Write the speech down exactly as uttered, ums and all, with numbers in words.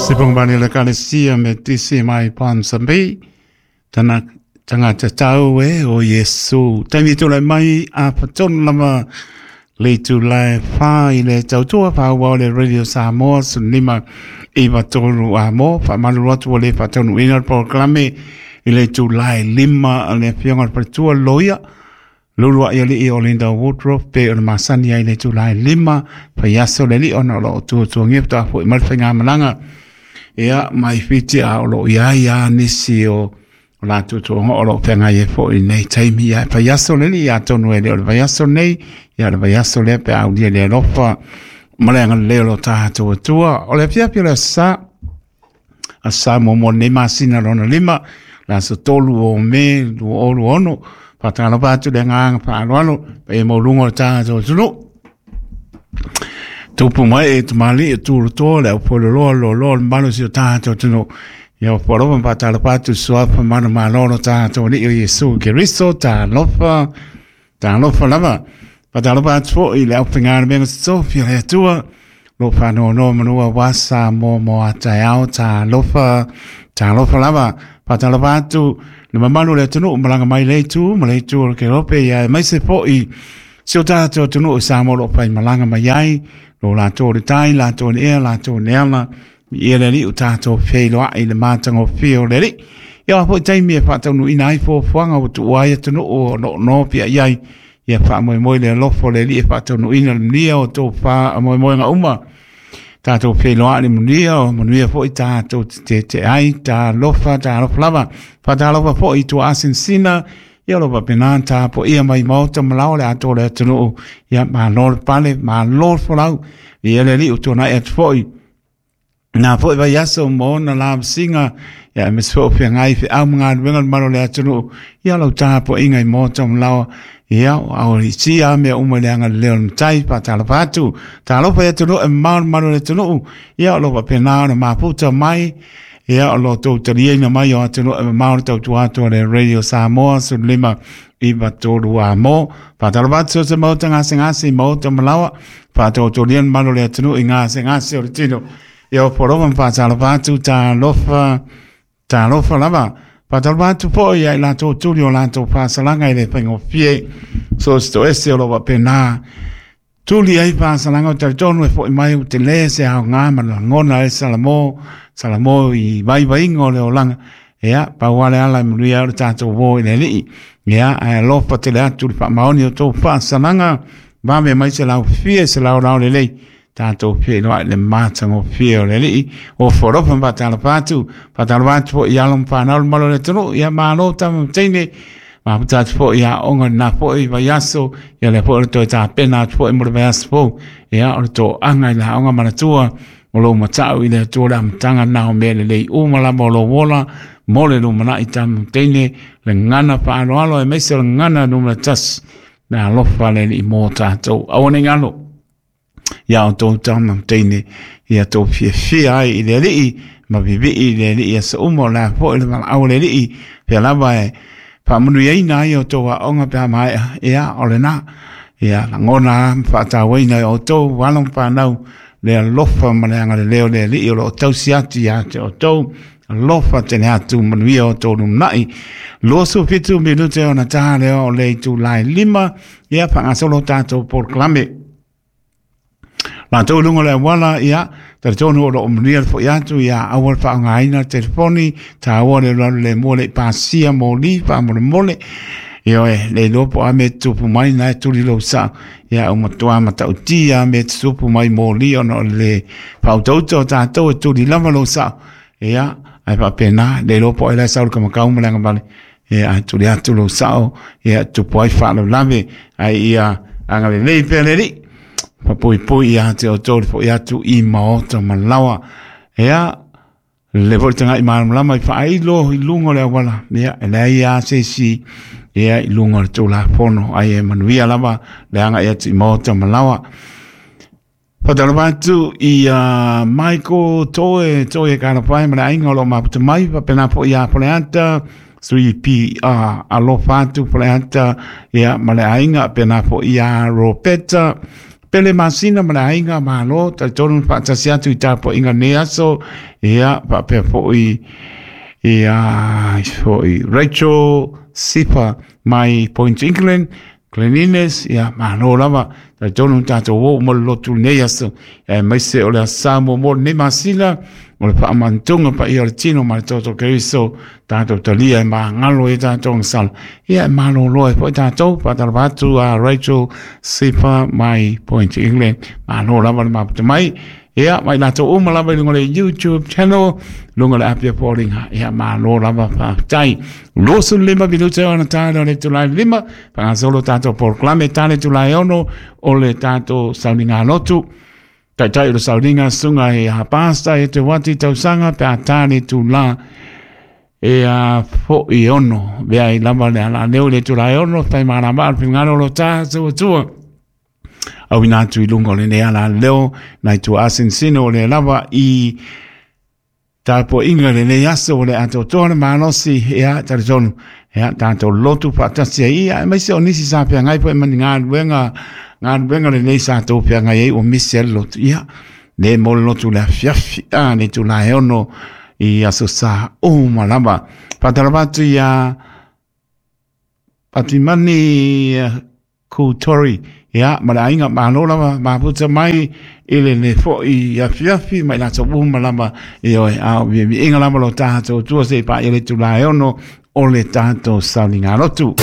Sipongvani le kalesia me tisi mai pansambi tana tangata tau e o Yesu. Taimi tula mai a patonu lama le tula wha i le tautua wha le Radio Samoa sunima iwa tolu a mo wha malu atu o le whatonu ina programe i le tula lima le fionga patua loia lulu a ia o Linda Woodruff pe o le masani ai le tula lima whaiaso le li ona o lo tua ngepta fo i malwhenga malanga ia mai whiti a o lo ia ia nisi o o la tutu o lo whenga e fo i nei taimi ia whaiaso le li ia tonu e le o le whaiaso nei ia le whaiaso le pe au lia le alofa maleanga le o lo tahatua tua o le pia le sa a sa mo mo nei masina lona lima la so tolu o me lu olu ono patalo atu le nganga paaloalo pe mo lungo tahatua tunu tupu mai e tumali e tulu toa le au polo loa lo loa le malo si o tahatua tunu ia polo patalo atu suapa manu malolo tahatua ni o Yesu Keriso talofa talofa lava patalo atu i le au pengana menga sofia le atua lo whanoa no manua wasa mo mo ataiao talofa talofa lava patalo atu le mamalu le atunu malanga mai le tu ma le tu o ke rope ia mai se po i si o tātou atunu o sa mo lo pai malanga mai ai lo lātou le tai lātou le ea lātou le ala i le li o tātou wheiloa i le mātanga o whio le li ia po taimi e whātaunu ina ai fōfuanga o tuai atunu o no no pia iai ia wha moi moi le alofo le li e whātaunu ina le mnia o tō wha moi moi ngā uma tātou wheiloa le mnia o manuia fo i tātou te te ai tā lofa tā lofa lava whātalofa fo i tua asinsina ia lo papena tā po ia mai mauta malao le ato le atunu ia ma lor pale ma lor folau ia le li o tōna e atu fo i nā fo i vai aso mo na la singa ia me so pe ngai fe au ngā wenga malo le atunu ia lo tā po inga i mauta malao ia au i tia me uma le anga leo tai pa talopatu talofa atunu e malo malo le atunu ia lo papena na maputa mai ia o lo tau taliaina mai o atunu e mamao tau tuato le Radio Samoa sulima iwa tolu a mo whātalopatu se mauta ngase ngase mauta malawa whātautorian malo le atunu i ngase ngase o le tino ia o poroma whātalopatu talofa talofa lava whātalopatu po ia i lātou tuli o lātou whāsalanga i le whaingofie so sto ese o lo wapena tuli ai whāsalanga o taritonu e fo i mai u te le se hao ngā malangona e Salamo Salamo i vaivainga o le olanga ia pauale ala i manuia o le tātou wō i le lii ia ae alofa tele atu le whaamaoni o tō whāsalanga vame mai se lau fie se lau lau le lei tātou fie loa i le mātanga o fie o le lii o forofa whātalofa atu whātalofa atu po i alo mwhanau le malo le tunu ia mālo tama teine ma atu po ia onga nā po i vaiaso ia le po o le toi tāpena atu po i mo le vaiaso po ia o le tō anga i la onga manatua o lo matau i le atua le amatanga nā o mea le lei uma lama o lo wola mo le lumana i tamu teine le ngana whaaloalo e meise le ngana numera tasi le alofa le li mō tātou awane ngalo ia o tō tamu teine ia tō fiafia ai i le alii ma vivii i le alii a sa uma o la po i le malaau le alii pea lava e whaamanuiaina ai o tō aonga pea maea ia o le nā ia langona whaatauaina o tō walo whanau le alofa ma le anga le leo le alii o lo tausi atu ia te o tō alofa tene atu manuia o tō lumnai loso fitu minute o na tā leo o le itu lai lima ia whangasolo tātou porklame lātou lunga le wala ia taritonu o lo manuia le fo i atu ia awal whaangaina telefoni tā awa le lalu le mole pasia moli whaamole mole ia e le lopo a me tupu mai nai tuli lo sa ia o matua matautia me tupu mai moli ona o le pautauta o tātou e tuli lava lo sa ia ai papena le lopo e lai sau le kamakau malanga vale ia ai tuli atu lo sao ia tupu ai whaalau ai ia anga le lei pea le li papuipui ia te o tō fo ia atu i maota malawa ia le voltanga i malamalama i whaailo i lunga le awala ia e lea ia se si ia i lunga le tō pono ai e manuia lava le anga ia atu i maota malawa Whātalofa atu i uh, Michael Toe Toe Karapai ma le ainga o lo maputa mai papena po ia Poleata three P R alofa atu Poleata ia ma le ainga pena po ia Ropeta Pele Masina ma le aiga, malo, talitonu faatasi atu i tapuaiga lenei aso. Ia faapea foʻi ia foʻi Rachel Sipa mai Point England, Glenines, ia malo lava, talitonu tatou oo mo le lotu lenei aso, aemaise o le aso Sa muamua o lenei masina o le faamanatuga paia o le tino ma le toto Keriso, tatou talia e magalo i tatou agasala, ia e malolo ai foi tatou. Faatalofa atu a Rachel Sipa mai Point England, malo lava le maputa mai. Ia, mai latou uma lava i luga o le YouTube channel, luga o le Apia Polinga. Ia, malo lava faafetai. Luasefulu lima minute ona tale o le itula e lima, faagasolo tatou polokalame tale itula e ono o le tatou sauniga lotu. Taitai o le sauniga susuga i a Pasta e te wati tausaga pe a tale itula e a foʻi ono. Vea i lava le alaleo i le itula e ono, fai malama le finagalo o lo tatou Atua. Auina atu i luga o lenei alaleo nai tua asinsino o le lava i tapuaiga lenei aso o le atoatoa le malosi. Ia talitonu ia tatou lotu faatasi ai, ia aemaise o nisi sa feagai foi ma ni galuega galuega lenei sa tou feagai ai ua misi ai le lotu. Ia le mo le lotu le afiafi a le itula e ono i aso Sa uma lava. Faatalofa atu ia Patimani Kutori, ia ma le aiga, malo lava maputa mai i le le foʻi afiafi mai latou uma lava. Ioe, a o viiviiga lava lo tatou tua se i paia le itula e ono o le tatou sauniga lotu.